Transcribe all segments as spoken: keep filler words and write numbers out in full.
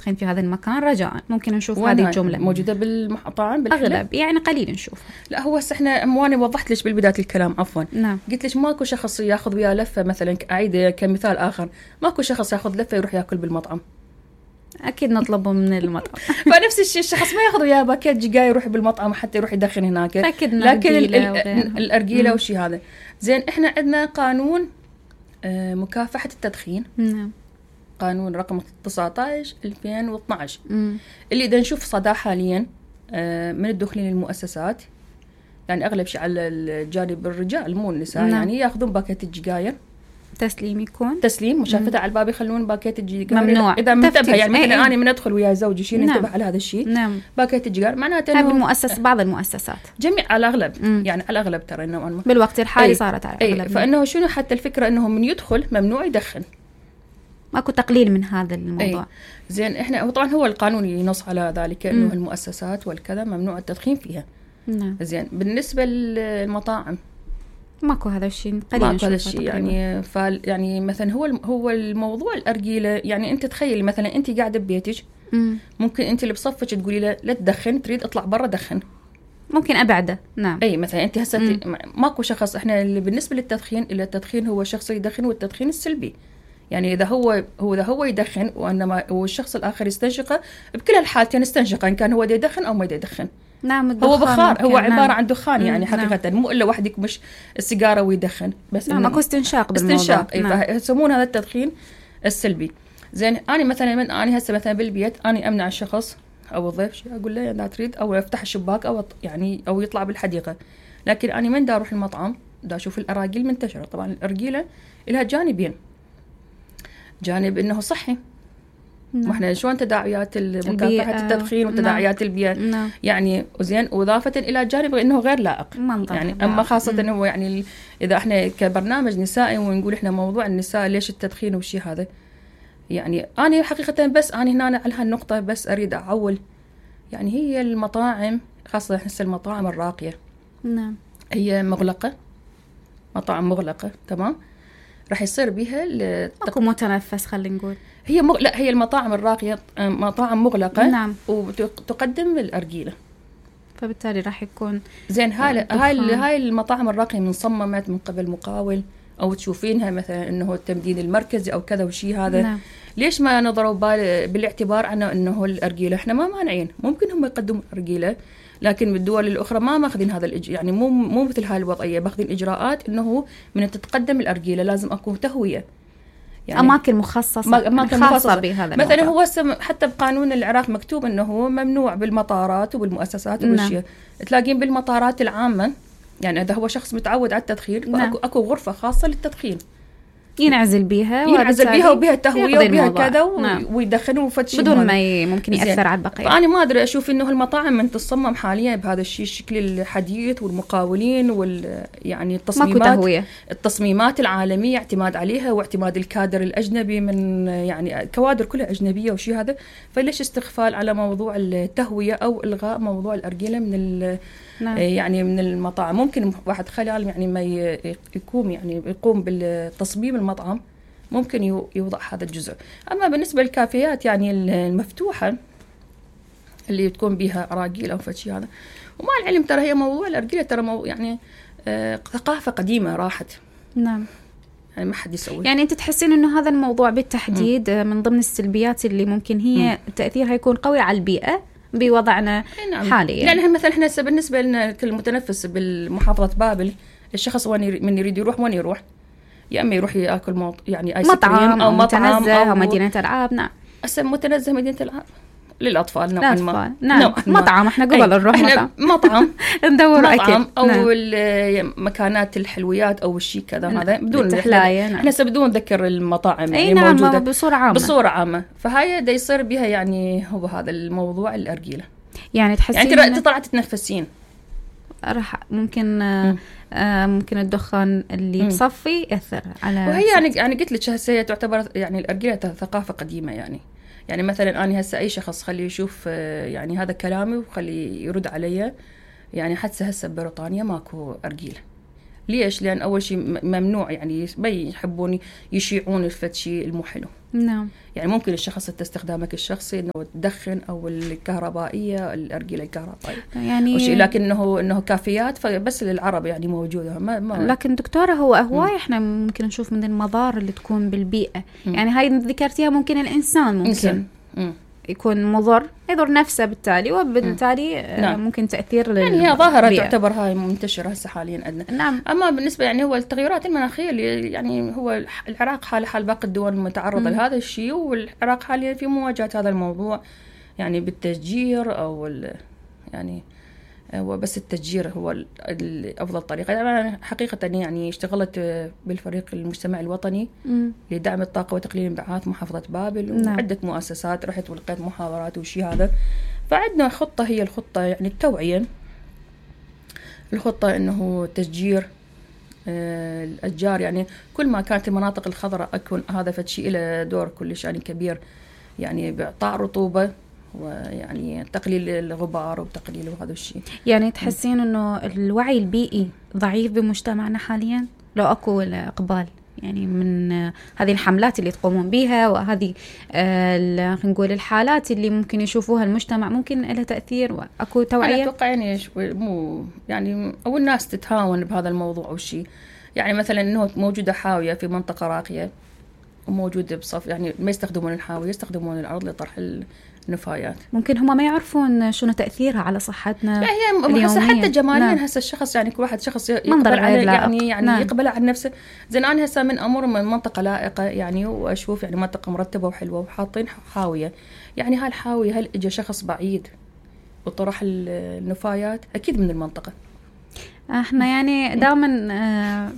التدخين في هذا المكان رجاء ممكن نشوف هذه الجملة موجودة بالمطاعم بالحلب أغلب يعني قليل نشوفها. لا هو احنا مواني وضحت ليش بالبداية الكلام عفوا نعم. قلت ليش ماكو شخص ياخذ وياه لفة مثلا أعيد كمثال آخر ماكو شخص ياخذ لفة يروح ياكل بالمطعم أكيد نطلبه من المطعم. فنفس الشيء الشخص ما ياخذ وياه باكيت جاي يروح بالمطعم حتى يروح يدخن هناك. لكن الأرجيلة وشي هذا زين. إحنا عندنا قانون آه مكافحة التدخين. نعم. قانون رقم تسعة عشر ألفين واثني عشر اللي إذا نشوف صداه حاليا آه من الدخول للمؤسسات يعني أغلب شيء على الجانب الرجال مو النساء. نعم. يعني ياخذون باكيت الجيجاير تسليم يكون تسليم مشافتها على الباب يخلون باكيت الجيجار ممنوع اذا منتبه يعني مثلا ايه. انا من ادخل ويا زوجي شيء ننتبه نعم. على هذا الشيء. نعم. باكيت الجيجار معناته انه المؤسس بعض المؤسسات جميع على الاغلب مم. يعني على الاغلب ترى انه أنه بالوقت الحالي ايه. صارت على الاغلب ايه. فانه شنو حتى الفكره انه من يدخل ممنوع يدخن ماكو تقليل من هذا الموضوع. ايه. زين احنا طبعا هو القانون ينص على ذلك انه مم. المؤسسات والكذا ممنوع التدخين فيها. نعم. زين بالنسبه للمطاعم ماكو هذا الشيء قليل ماكو هذا الشيء يعني فال يعني مثلا هو هو الموضوع الأرجيلة يعني أنت تخيلي مثلا أنت قاعدة ببيتك مم. ممكن أنت اللي بصفك تقولي له لا تدخن تريد اطلع برا دخن ممكن أبعده. نعم. أي مثلا أنت هسه ماكو شخص إحنا اللي بالنسبة للتدخين إلا التدخين هو شخص يدخن والتدخين السلبي يعني إذا هو هو إذا هو يدخن وإنما والشخص الآخر يستنشقه بكل الحالتين يستنشقه إن كان هو دا يدخن أو ما دا يدخن. نعم. هو بخار هو عبارة نعم. عن دخان يعني حقيقة نعم. مو إلا واحد يكمش السيجارة ويدخن بس نعم اكو استنشاق بالموضوع. استنشاق نعم. يسمون هذا التدخين السلبي. زين أنا مثلا من أنا هسه مثلا بالبيت أنا أمنع الشخص أو الضيف شيء أقول له لا تريد أو يفتح الشباك أو يعني أو يطلع بالحديقة. لكن أنا من دا أروح المطعم دا أشوف الأراجيل منتشرة. طبعا الأرجيلة لها جانبين جانب إنه صحي نعم. واحنا شلون تداعيات مكافحة التدخين وتداعيات نعم. البيئة نعم. يعني وزين وإضافة إلى جانب إنه غير لائق يعني لا. أما خاصة إنه يعني إذا إحنا كبرنامج نسائي ونقول إحنا موضوع النساء ليش التدخين وشي هذا يعني أنا حقيقة بس أنا هنا على هالنقطة بس أريد أعول يعني هي المطاعم خاصة إحنا المطاعم الراقية نعم. هي مغلقة مطاعم مغلقة تمام راح يصير بها اكو متنفس خلينا نقول هي مغ... لا هي المطاعم الراقية مطاعم مغلقة نعم. وتقدم الأرجيلة فبالتالي راح يكون زين هاي هاي هاي المطاعم الراقية من صممت من قبل مقاول أو تشوفينها مثلا إنه التمديد المركزي أو كذا وشي هذا نعم. ليش ما نظروا بال... بالاعتبار عنه إنه الأرجيلة إحنا ما مانعين ممكن هم يقدموا الأرجيلة لكن بالدول الأخرى ما ماخذين هذا الإج... يعني مو مو مثل هاي الوضعية باخذين إجراءات إنه من تتقدم الأرجيلة لازم أكون تهوية يعني أماكن مخصصة أماكن خاصة مخصصة بهذا مثلا هو حتى بقانون العراق مكتوب إنه هو ممنوع بالمطارات وبالمؤسسات وبالشيء تلاقين بالمطارات العامة يعني إذا هو شخص متعود على التدخين أكو أكو غرفة خاصة للتدخين ينعزل بيها ينعزل بيها وبيها تهوية وبيها كذا و... نعم. ويدخنوا فتش بدون ما ي... ممكن يأثر على البقية. أنا ما أدري أشوف إنه المطاعم من تصمم حاليا بهذا الشيء الشكل الحديث والمقاولين وال يعني التصميمات التصميمات العالمية اعتماد عليها واعتماد الكادر الأجنبي من يعني كوادر كلها أجنبية وشيء هذا فليش استغفال على موضوع التهوية أو إلغاء موضوع الأرجيلة من ال نعم. يعني من المطاعم ممكن واحد خلال يعني ما يقوم يعني يقوم بالتصميم المطعم ممكن يوضع هذا الجزء. أما بالنسبة للكافيات يعني المفتوحة اللي تكون بها أراجيل أو فشي هذا ومع العلم ترى هي موضوع الأرجيلة ترى مو يعني آه ثقافة قديمة راحت نعم يعني ما حد يسوي يعني أنت تحسين إنه هذا الموضوع بالتحديد م. من ضمن السلبيات اللي ممكن هي م. تأثيرها يكون قوي على البيئة بوضعنا نعم. حاليا يعني مثلا احنا بالنسبة لنا كالمتنفس بالمحافظة بابل الشخص وين من يريد يروح وين يروح يا اما يروح ياكل موط... يعني ايس مطعم او مطعم او, أو مدينة العاب نعم هسه متنزه مدينة العاب للأطفال نوعا ما نعم مطعم احنا قبل نروح مطعم مطعم ندور مطعم أو نعم. مكانات الحلويات أو الشيء كذا نعم. هذا بدون احنا نعم. احنا بدون نذكر المطاعم يعني نعم موجودة بصورة عامة بصورة عامة فهاي دا يصير بها يعني هو هذا الموضوع الأرجيلة يعني تحسين يعني انت طلعت تتنفسين راح ممكن آه ممكن الدخان اللي بصفي يأثر على وهي يعني يعني قلت لك هسه تعتبر يعني الأرجيلة ثقافة قديمة يعني يعني مثلا أنا هسه أي شخص خليه يشوف يعني هذا كلامي وخليه يرد علي يعني حتى هسه ببريطانيا ماكو أرجيلة ليش؟ لأن أول شيء ممنوع يعني ما يحبون يشيعون الفتشي المحلو. نعم. يعني ممكن الشخص استخدامك الشخصي إنه تدخن أو الكهربائية الأرجيلة الكهربائية يعني، لكنه إنه كافيات فبس للعرب يعني موجودة. ما ما لكن دكتورة هو هواي إحنا ممكن نشوف من المضار اللي تكون بالبيئة. م. يعني هاي ذكرتيها ممكن الإنسان ممكن إنسان. يكون مضر يضر نفسه بالتالي وبالتالي نعم. ممكن تأثير يعني هي ظاهرة تعتبر هاي منتشرة هسه حاليا عندنا. نعم. أما بالنسبة يعني هو التغيرات المناخية اللي يعني هو العراق حال حال باقي الدول متعرضة لهذا الشيء، والعراق حاليا في مواجهة هذا الموضوع يعني بالتشجير أو يعني هو بس التشجير هو الأفضل طريقة. أنا حقيقة يعني اشتغلت بالفريق المجتمع الوطني م. لدعم الطاقة وتقليل الانبعاثات محافظة بابل نعم. وعدة مؤسسات رحت ولقيت محاضرات وشي هذا. فعندنا خطة هي الخطة يعني التوعية، الخطة إنه تشجير آه الأشجار. يعني كل ما كانت المناطق الخضراء أكون هذا فشي إلى دور كلش يعني كبير يعني بإعطاء رطوبة ويعني تقليل الغبار وتقليل هذا الشيء. يعني تحسين انه الوعي البيئي ضعيف بمجتمعنا حاليا لو اكو اقبال يعني من هذه الحملات اللي تقومون بها وهذه خلينا نقول الحالات اللي ممكن يشوفوها المجتمع ممكن لها تأثير واكو توعية؟ انا اتوقع يعني شوي مو يعني او الناس تتهاون بهذا الموضوع او شيء. يعني مثلا انه موجودة حاوية في منطقة راقية وموجودة بصف يعني ما يستخدمون الحاوية يستخدمون الارض لطرح النفايات. ممكن هم ما يعرفون شنو تأثيرها على صحتنا هي هسه حتى جماليا هسه الشخص يعني كل واحد شخص يقبل على يعني يعني نعم. يقبل على نفسه. زين انا هسه من امر من منطقه لائقه يعني واشوف يعني منطقه مرتبه وحلوه وحاطين حاويه. يعني هالحاويه هل اجى شخص بعيد وطرح النفايات اكيد من المنطقه. احنا يعني دائما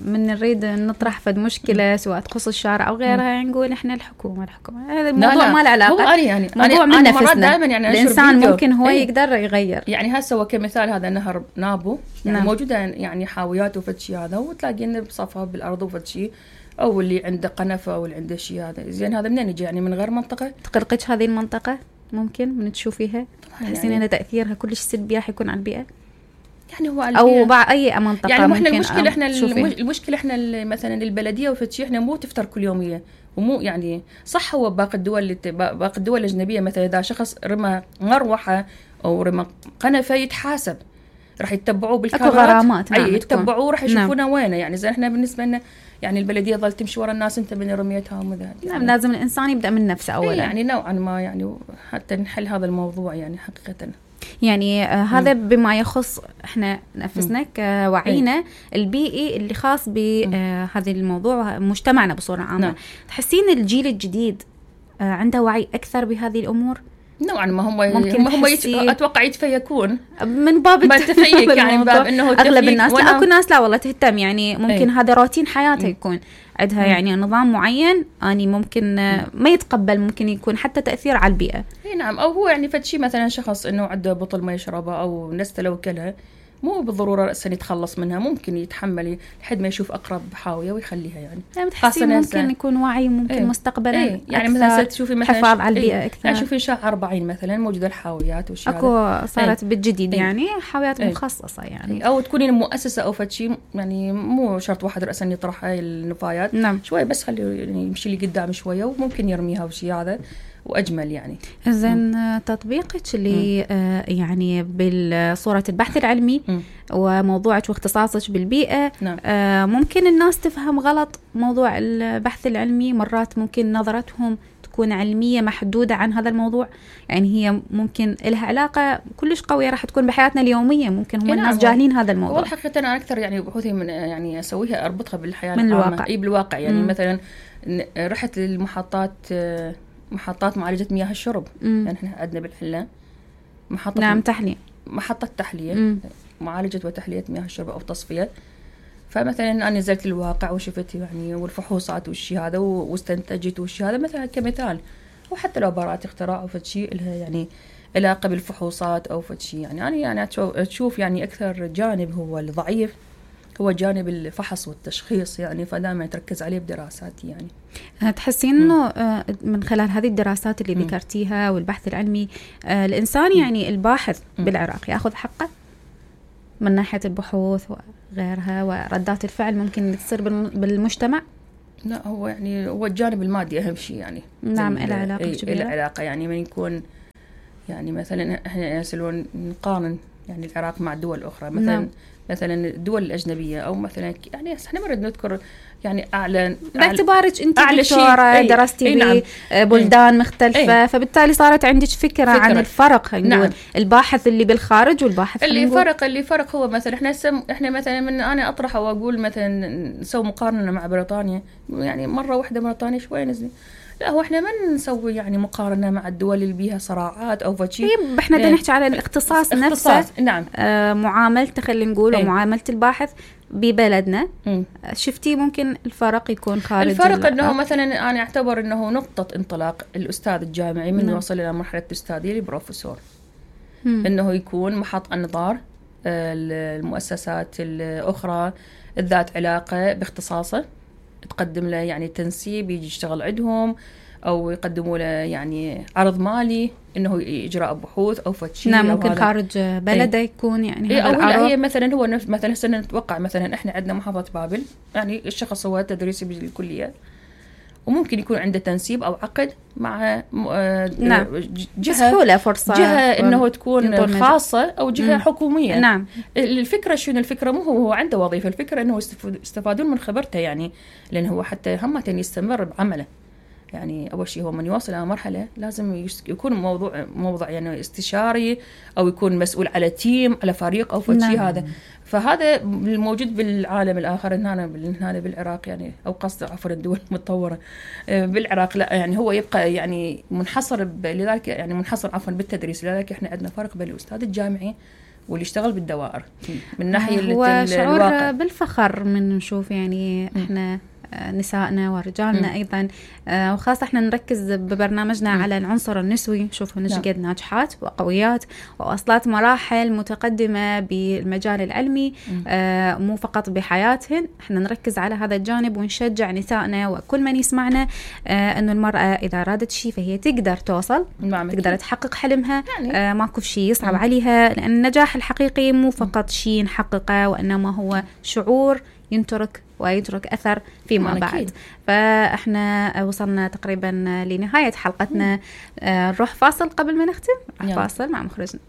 من نريد نطرح فد مشكله سواء تخص الشارع او غيرها يعني نقول احنا الحكومه الحكومه هذا الموضوع ما له علاقه. هو يعني موضوع من نفسنا يعني الانسان ممكن هو ايه؟ يقدر يغير. يعني هسه وكمثال هذا نهر نابو يعني نعم. موجوده يعني حاويات وفتشي هذا وتلاقينا بصفها بالارض وفتشي او اللي عنده قنفه او اللي عنده شيء هذا. زين هذا منين يجي يعني من غير منطقه تقرقش هذه المنطقه ممكن من تشوفيها تحسين يعني ان تاثيرها كلش سلبي راح يكون على البيئه يعني هو او بعض اي منطقه يعني احنا المشكله احنا المشكله احنا مثلا البلديه وفتشي احنا مو تفتر كل يوميه ومو يعني صح. هو باقي الدول باقي الدول الاجنبيه مثلا اذا شخص رمى مروحه او رمى قنفه يتحاسب راح يتبعوه بالكاميرات اي يتبعوه راح يشوفونه نعم. وينه يعني زين احنا بالنسبه لنا يعني البلديه ظل تمشي ورا الناس انت من رميتها ومذا نعم يعني لازم الانسان يبدا من نفسه اولا يعني نوعا ما يعني حتى نحل هذا الموضوع يعني حقيقه. يعني آه هذا بما يخص احنا نفسنا كوعينا البيئي اللي خاص بهذا الموضوع مجتمعنا بصورة عامة. نعم. تحسين الجيل الجديد آه عنده وعي أكثر بهذه الأمور؟ نوعا ما هم ممكن هم يت... أتوقع يتفيكون من باب التفيك يعني باب إنه أغلب الناس لا أكو ناس لا والله تهتم يعني ممكن ايه؟ هذا روتين حياتها يكون عندها مم. يعني نظام معين أني ممكن ما يتقبل ممكن يكون حتى تأثير على البيئة. نعم أو هو يعني فد شيء مثلا شخص إنه عنده بطل ما يشربه أو نسته لو كلها مو بالضرورة رأسا يتخلص منها ممكن يتحمل لحد ما يشوف أقرب حاوية ويخليها يعني. يعني بتحسين ممكن يكون وعي ممكن ايه مستقبلا ايه يعني مثلا تشوفي مثلا حفاظ على البيئة ايه أكثر. يعني شوفي شارع أربعين مثلا موجودة الحاويات وشي أكو صارت ايه بالجديد يعني حاويات ايه مخصصة يعني ايه أو تكونين مؤسسة أو فشي يعني مو شرط واحد رأسا يطرح هاي النفايات. نعم. شوي بس خليه يعني يمشي لي قدام شوية وممكن يرميها وشي هذا وأجمل يعني. إذن تطبيقك اللي آه يعني بالصورة البحث العلمي م. وموضوعك واختصاصك بالبيئة نعم. آه ممكن الناس تفهم غلط موضوع البحث العلمي. مرات ممكن نظرتهم تكون علمية محدودة عن هذا الموضوع يعني هي ممكن لها علاقة كلش قوية راح تكون بحياتنا اليومية ممكن هم الناس جاهلين هذا الموضوع. والحقيقة أنا أكثر يعني بحوثي من يعني أسويها أربطها بالحياة من الواقع. أي بالواقع يعني م. مثلا رحت للمحطات محطات معالجة مياه الشرب مم. يعني احنا عندنا بالحلة محطة نعم تحلية محطة تحلية مم. معالجة وتحلية مياه الشرب أو تصفية. فمثلا أنا نزلت الواقع وشفت يعني والفحوصات والشي هذا واستنتجت والشي هذا مثلا كمثال. وحتى لو براءة اختراع أو فد شيء لها يعني علاقة بالفحوصات أو فد شيء يعني أنا يعني تشوف يعني أكثر جانب هو الضعيف هو جانب الفحص والتشخيص يعني فدائما تركز عليه بدراساتي يعني. تحسين انه من خلال هذه الدراسات اللي م. ذكرتيها والبحث العلمي الانسان يعني الباحث م. بالعراق ياخذ حقه؟ من ناحية البحوث وغيرها وردات الفعل ممكن تصير بالمجتمع؟ لا هو يعني هو الجانب المادي أهم شيء يعني. نعم إلى علاقة كبيرة. إلى علاقة يعني من يكون يعني مثلا إحنا نسألون نقارن يعني العراق مع دول أخرى مثلا نعم. مثلا الدول الأجنبية أو مثلا يعني إحنا مرد نذكر يعني أعلى باعتبارك أنت دكتورة درستي نعم. ببلدان مختلفة أي. فبالتالي صارت عندك فكرة, فكرة. عن الفرق نعم. الباحث اللي بالخارج والباحث اللي فرق اللي فرق هو مثلا إحنا سم إحنا مثلا من أنا أطرح وأقول مثلا نسوي مقارنة مع بريطانيا يعني مرة واحدة بريطانيا شوي نزل لا هو احنا ما نسوي يعني مقارنه مع الدول اللي بيها صراعات او فشي. طيب احنا بدنا نحكي على الاختصاص نفسه. نعم. آه معاملته خلينا نقول ومعامله الباحث ببلدنا. م. شفتي ممكن الفرق يكون خارج الفرق انه مثلا انا اعتبر انه نقطه انطلاق الاستاذ الجامعي من نعم. يوصل الى مرحله الاستاذيه لبروفيسور انه يكون محط انظار المؤسسات الاخرى الذات علاقه باختصاصه تقدم له يعني تنسيب يجي يشتغل عندهم او يقدموا له يعني عرض مالي انه اجراء بحوث او فتشي. نعم ممكن خارج بلده ايه. يكون يعني هذا العرض هي مثلا هو مثلا سنة نتوقع مثلا احنا عندنا محافظه بابل يعني الشخص هو تدريسي بالكليه وممكن يكون عنده تنسيب او عقد مع نعم. جهه فرصه جهه انه تكون خاصه او جهه م. حكوميه. نعم. الفكره شنو الفكره مو هو عنده وظيفه الفكره انه يستفادون من خبرته يعني لانه هو حتى هم يستمر بعمله يعني اول شيء هو من يوصل الى مرحله لازم يكون موضوع موضوع يعني استشاري او يكون مسؤول على تيم على فريق او شيء نعم. هذا فهذا الموجود بالعالم الآخر هنا هنا بالعراق يعني أو قصد عفوا الدول المتطورة بالعراق لا يعني هو يبقى يعني منحصر لذلك يعني منحصر عفوا بالتدريس لذلك إحنا عندنا فرق بين الأستاذ الجامعي واللي يشتغل بالدوائر من ناحية هو شعور بالفخر من نشوف يعني إحنا نسائنا ورجالنا م. أيضا آه وخاصة احنا نركز ببرنامجنا م. على العنصر النسوي شوفوا نشقد ناجحات وقويات وأصلات مراحل متقدمة بالمجال العلمي آه مو فقط بحياتهن احنا نركز على هذا الجانب ونشجع نسائنا وكل من يسمعنا آه أنه المرأة إذا أرادت شيء فهي تقدر توصل نعم. تقدر تحقق حلمها يعني. آه ماكو شيء يصعب م. عليها لأن النجاح الحقيقي مو فقط شيء نحققه وإنما هو شعور ينترك ويترك أثر فيما بعد أكيد. فإحنا وصلنا تقريبا لنهاية حلقتنا نروح فاصل قبل ما نختم فاصل مع مخرجنا.